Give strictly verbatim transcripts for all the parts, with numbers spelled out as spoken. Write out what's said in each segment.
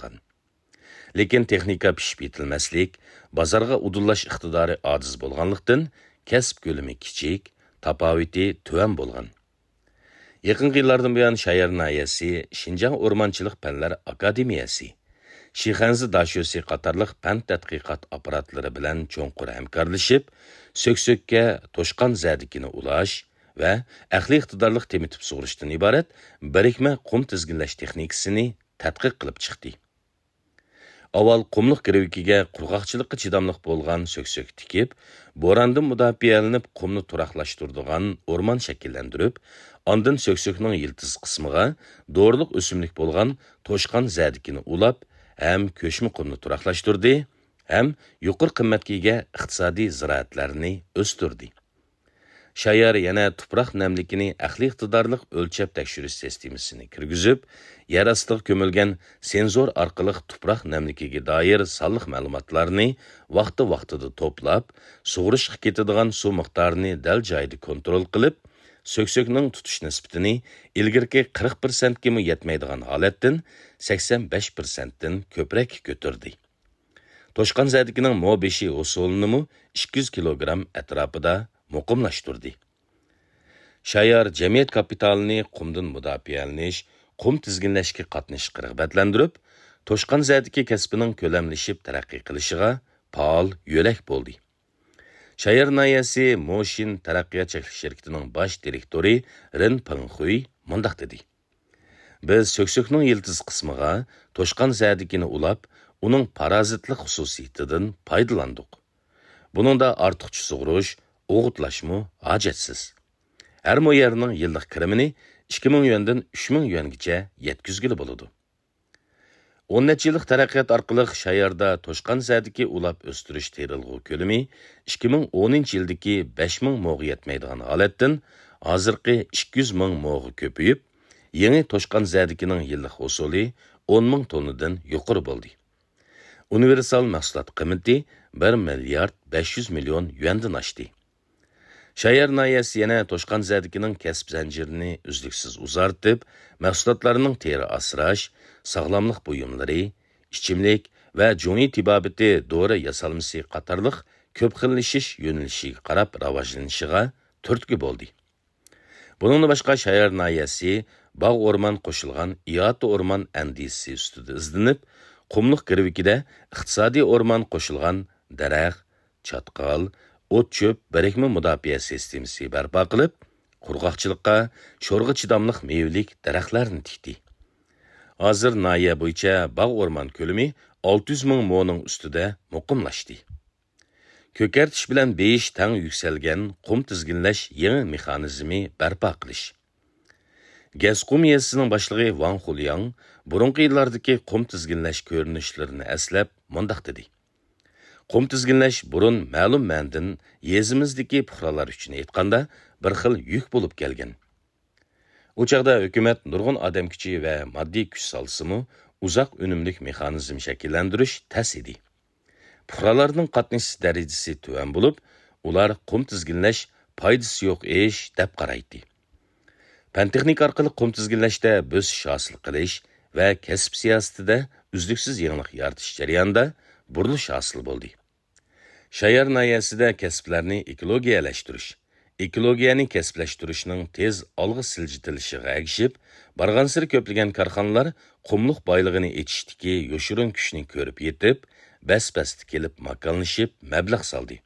چىققان. لېكىن تېخنىكا پىشىپ يېتىلمەسلىك، بازارغا ئۇدۇللاش ئىقتىدارى ئاجىز بولغانلىقتىن، كەسىپ كۆلىمى كىچىك، تاپاۋىتى تۆۋەن بولغان. يېقىنقى يىللاردىن بۇيان، شايار ناھىيەسى شىنجاڭ ئورمانچىلىق پەنلەر ئاكادېمىيەسى، شىخەنزە داشۆسى قاتارلىق پەن تەتقىقات ئاپپاراتلىرى بىلەن چوڭقۇر ھەمكارلىشىپ، سۆكسۆككە توشقان زەدىكىنى ئۇلاش ۋە ئەقلىي ئىقتىدارلىق تېمىتىپ سۇغۇرۇشتىن ئىبارەت بىرىكمە قۇم تىزگىنلەش تېخنىكىسىنى تەتقىق قىلىپ چىقتى. ئاۋۋال قۇملۇق گىرۋىكىگە قۇرغاقچىلىققا چىداملىق بولغان سۆكسۆك تىكىپ، بوراندىن مۇداپىئەلىنىپ قۇمنى تۇراقلاشتۇرىدىغان ئورمان شەكىللەندۈرۈپ، ئاندىن سۆكسۆكنىڭ يىلتىز قىسمىغا دورىلىق ئۆسۈملۈك بولغان توشقان زەدىكىنى ئۇلاپ، ھەم كۆچمە قۇمنى تۇراقلاشتۇردى، ھەم يۇقىرى قىممەتكە ئىگە ئىقتىسادىي زىرائەتلەرنى ئۆستۈردى. شايار يەنە تۇپراق نەملىكىنى ئەقلىي ئىقتىدارلىق ئۆلچەپ تەكشۈرۈش سىستېمىسىنى كىرگۈزۈپ، يەر ئاستىغا كۆمۈلگەن سېنزور ئارقىلىق تۇپراق نەملىكىگە دائىر سانلىق مەلۇماتلارنى ۋاقتى-ۋاقتىدا توپلاپ، سۇغۇرۇشقا كېتىدىغان سۇ مىقدارىنى دەل جايىدا كونترول قىلىپ، سۆكسۆكنىڭ تۇتۇش نىسبىتىنى ئىلگىرىكى قىرىق پىرسەنتكىمۇ يەتمەيدىغان ھالەتتىن سەكسەن بەش پىرسەنتتىن كۆپرەككە كۆتۈردى. توشقان زەدىكىنىڭ مو بېشى ھوسۇلىنىمۇ ئىككى يۈز كىلوگرام ئەتراپىدا مۇقىملاشتۇردى. شايار جەمئىيەت كاپىتالىنى قۇمدىن مۇداپىئەلىنىش، قۇم تىزگىنلەشكە قاتنىشىشقا رىغبەتلەندۈرۈپ، توشقان زەدىكى كەسپىنىڭ كۆلەملىشىپ تەرەققىي قىلىشىغا پائال يۆلەك بولدى. شايار ناھىيەسى موشىن تەرەققىيات چەكلىك شىركىتىنىڭ باش دىرېكتورى رېن پېڭخۇي مۇنداق دېدى: بىز سۆكسۆكنىڭ يىلتىز قىسمىغا توشقان زەدىكىنى ئۇلاپ، ئۇنىڭ پارازىتلىق خۇسۇسىيىتىدىن پايدىلاندۇق. بۇنىڭدا ئارتۇقچە سۇغۇرۇش، ئوغۇتلاشمۇ ھاجەتسىز. ھەر مو يەرنىڭ يىللىق كىرىمىنى ئىككى مىڭ يۈەندىن ئۈچ مىڭ يۈەنگىچە يەتكۈزگىلى بولىدۇ. ئون نەچچە يىللىق تەرەققىيات ئارقىلىق شاياردا توشقان زەدىكى ئۇلاپ ئۆستۈرۈش تېرىلغۇ كۆلىمى ئىككى مىڭ ئونىنچى يىلدىكى بەش مىڭ موغا يەتمەيدىغان ھالەتتىن ھازىرقى ئىككى يۈز مىڭ موغا كۆپىيىپ، يېڭى توشقان زەدىكىنىڭ يىللىق ھوسۇلى ئون مىڭ توننىدىن يۇقىرى بولدى. ئۇنىۋېرسال مەھسۇلات قىممىتى بىر مىليارد بەش يۈز مىليون يۈەندىن ئاشتى. شايار ناھىيەسى يەنە توشقان زەدىكىنىڭ كەسىپ زەنجىرىنى ئۈزلۈكسىز ئۇزارتىپ، مەھسۇلاتلارنىڭ تېرە ئاسراش، ساغلاملىق بۇيۇملىرى، ئىچىملىك ۋە جۇڭيى تېبابىتى دورا ياسالمىسى قاتارلىق كۆپ خىللىشىش يۆنىلىشىگە قاراپ راۋاجلىنىشىغا تۈرتكە بولدى. بۇنىڭدىن باشقا، شايار ناھىيەسى باغ ئورمان قوشۇلغان ئىئاتە ئورمان ئەندىزىسى ئۈستىدە ئىزدىنىپ، قۇملۇق گىرۋىكىدە ئىقتىسادىي ئورمان قوشۇلغان دەرەخ، چاتقال، ئوت-چۆپ بىرىكمە مۇداپىئە سىستېمىسى بەرپا قىلىپ، قۇرغاقچىلىققا، شورغا چىداملىق مېۋىلىك دەرەخلەرنى تىكتى. ھازىر ناھىيە بويىچە باغ ئورمان كۆلىمى ئالتە يۈز مىڭ مونىڭ ئۈستىدە مۇقىملاشتى. كۆكەرتىش بىلەن بېيىش تەڭ يۈكسەلگەن قۇم تىزگىنلەش يېڭى مېخانىزمى بەرپا قىلىش. گەسقۇم يېزىسىنىڭ باشلىقى ۋاڭ خۇلياڭ بۇرۇنقى يىللاردىكى قۇم تىزگىنلەش كۆرۈنۈشلىرىنى ئەسلەپ مۇنداق دېدى: قۇم تىزگىنلەش بۇرۇن مەلۇم مەنىدىن يېزىمىزدىكى پۇقرالار ئۈچۈن ئېيتقاندا بىر خىل يۈك بولۇپ كەلگەن. ئۇ چاغدا ھۆكۈمەت نۇرغۇن ئادەم كۈچى ۋە ماددىي كۈچ سالسىمۇ، ئۇزاق ئۈنۈملۈك مېخانىزم شەكىللەندۈرۈش تەس ئىدى. پۇقرالارنىڭ قاتنىشىش دەرىجىسى تۆۋەن بولۇپ، ئۇلار قۇم تىزگىنلەش پايدىسى يوق ئىش دەپ قارايتتى. پەن-تېخنىكا ئارقىلىق قۇم تىزگىنلەشتە بۆسۈش ھاسىل قىلىش ۋە كەسىپ سىياسىتىدە ئۈزلۈكسىز يېڭىلىق يارىتىش جەريانىدا بۇرۇلۇش ھاسىل بولدى. شايار ناھىيەسىدە كەسىپلەرنى ئېكولوگىيەلەشتۈرۈش، ئېكولوگىيەنى كەسىپلەشتۈرۈشنىڭ تېز ئالغا سىلجىتىلىشىغا ئەگىشىپ، بارغانسېرى كۆپلىگەن كارخانىلار قۇملۇق بايلىقىنى ئېچىشتىكى يوشۇرۇن كۈچنى كۆرۈپ يېتىپ، بەس-بەستە كېلىپ ماكانلىشىپ مەبلەغ سالدى.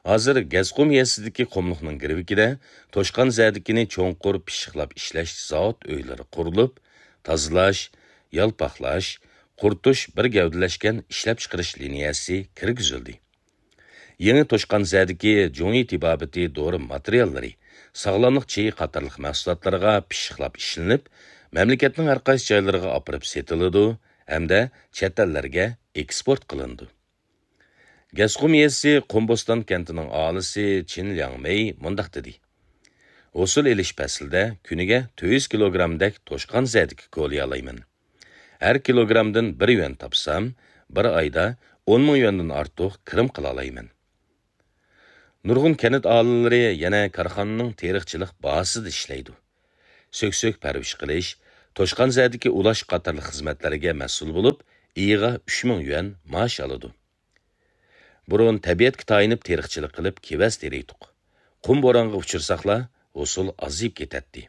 ھازىر گەسقۇم يېزىسىدىكى قۇملۇقنىڭ گىرۋىكىدە توشقان زەدىكىنى چوڭقۇر پىششىقلاپ ئىشلەش زاۋۇت ئۆيلىرى قۇرۇلۇپ، تازىلاش، يالپاقلاش، قۇرۇتۇش بىر گەۋدىلەشكەن ئىشلەپچىقىرىش لىنىيەسى كىرگۈزۈلدى. يېڭى توشقان زەدىكى جۇڭيى تېبابىتى دورا ماتېرىياللىرى، ساغلاملىق چېيى قاتارلىق مەھسۇلاتلارغا پىششىقلاپ ئىشلىنىپ، مەملىكەتنىڭ ھەرقايسى جايلىرىغا ئاپىرىپ سېتىلىدۇ ھەمدە چەت ئەللەرگە ئېكسپورت قىلىنىدۇ. گەسقۇم يېزىسى قۇمبوستان كەنتىنىڭ ئاھالىسى چىن لياڭمېي مۇنداق دېدى: ھوسۇل ئېلىش پەسلىدە كۈنىگە تۆت يۈز كىلوگرامدەك توشقان زەدىكى كولىيالايمەن. ھەر كىلوگرامدىن بىر يۈەن تاپسام، بىر ئايدا ئون مىڭ يۈەندىن ئارتۇق كىرىم قىلالايمەن. نۇرغۇن كەنت ئاھالىلىرى يەنە كارخانىنىڭ تېرىقچىلىق بازىسىدا ئىشلەيدۇ. سۆكسۆك پەرۋىش قىلىش، توشقانزەدىكى ئۇلاش قاتارلىق خىزمەتلەرگە مەسئۇل بولۇپ، ئېيىغا ئۈچ مىڭ يۈەن مائاش ئالىدۇ. بۇرۇن تەبىئەتكە تايىنىپ تېرىقچىلىق قىلىپ كېۋەز تېرىيتتۇق. قۇم بورانغا ئۇچرىساقلا، ھوسۇل ئازىيىپ كېتەتتى.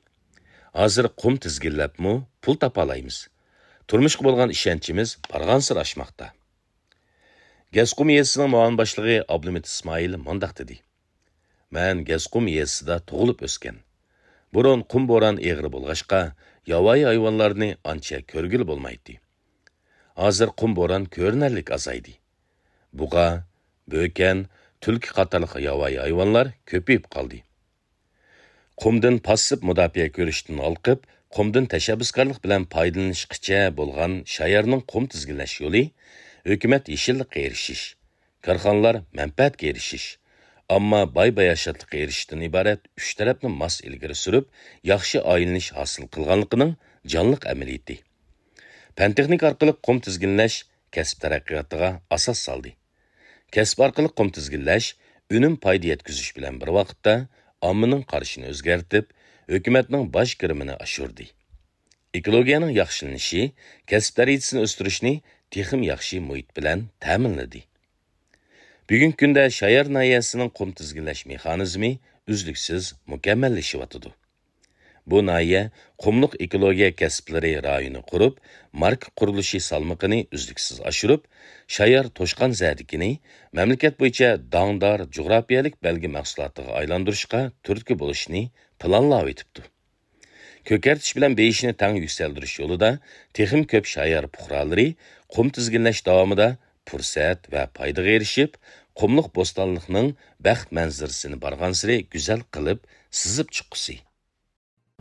ھازىر قۇم تىزگىنلەپمۇ پۇل تاپالايمىز. تۇرمۇشقا بولغان ئىشەنچىمىز بارغانسېرى ئاشماقتا. گەسقۇم يېزىسىنىڭ مۇئاۋىن باشلىقى ئابلىمىت ئىسمائىل مۇنداق دېدى: مەن گەسقۇم يېزىسىدا تۇغۇلۇپ ئۆسكەن. بۇرۇن قۇم بوران ئېغىر بولغاچقا، ياۋايى ھايۋانلارنى ئانچە كۆرگىلى بولمايتتى. ھازىر قۇم بوران كۆرۈنەرلىك ئازايدى. بۇغا، بۆكەن، تۈلكە قاتارلىق ياۋايى ھايۋانلار كۆپىيىپ قالدى. قۇمدىن پاسسىپ مۇداپىئە كۆرۈشتىن ھالقىپ، قۇمدىن تەشەببۇسكارلىق بىلەن پايدىلىنىشقىچە بولغان شايارنىڭ قۇم تىزگىنلەش يولى ھۆكۈمەت يېشىللىققا ئېرىشىش، كارخانىلار مەنپەئەتكە ئېرىشىش، ئامما باي-باياشاتلىققا ئېرىشىشتىن ئىبارەت ئۈچ تەرەپنى ماس ئىلگىرى سۈرۈپ، ياخشى ئايلىنىش ھاسىل قىلغانلىقىنىڭ جانلىق ئەمەلىيىتى. پەن-تېخنىكا ئارقىلىق قۇم تىزگىنلەش كەسىپ تەرەققىياتىغا ئاساس سالدى. كەسىپ ئارقىلىق قۇم تىزگىنلەش ئۈنۈم پايدا يەتكۈزۈش بىلەن بىر ۋاقىتتا ئاممىنىڭ قارىشىنى ئۆزگەرتىپ، ھۆكۈمەتنىڭ باج كىرىمىنى ئاشۇردى. ئېكولوگىيەنىڭ ياخشىلىنىشى كەسىپ دەرىجىسىنى ئۆستۈرۈشنى تېخىمۇ ياخشى مۇھىت بىلەن تەمىنلىدى. بۈگۈنكى كۈندە شايار ناھىيەسىنىڭ قۇم تىزگىنلەش مېخانىزمى ئۈزلۈكسىز مۇكەممەللىشىۋاتىدۇ. بۇ ناھىيە قۇملۇق ئېكولوگىيە كەسىپلىرى رايونى قۇرۇپ، ماركا قۇرۇلۇشى سالمىقىنى ئۈزلۈكسىز ئاشۇرۇپ، شايار توشقانزەدىكىنى مەملىكەت بويىچە داڭدار جۇغراپىيەلىك بەلگە مەھسۇلاتىغا ئايلاندۇرۇشقا تۈرتكە بولۇشنى پىلانلاۋېتىپتۇ. كۆكەرتىش بىلەن بېيىشنى تەڭ يۈكسەلدۈرۈش يولىدا تېخىمۇ كۆپ شايار پۇقرالىرى قۇم تىزگىنلەش داۋامىدا پۇرسەت ۋە پايدىغا ئېرىشىپ، قۇملۇق بوستانلىقنىڭ بەخت مەنزىرىسىنى بارغانسېرى گۈزەل قىلىپ سىزىپ چىققۇسى.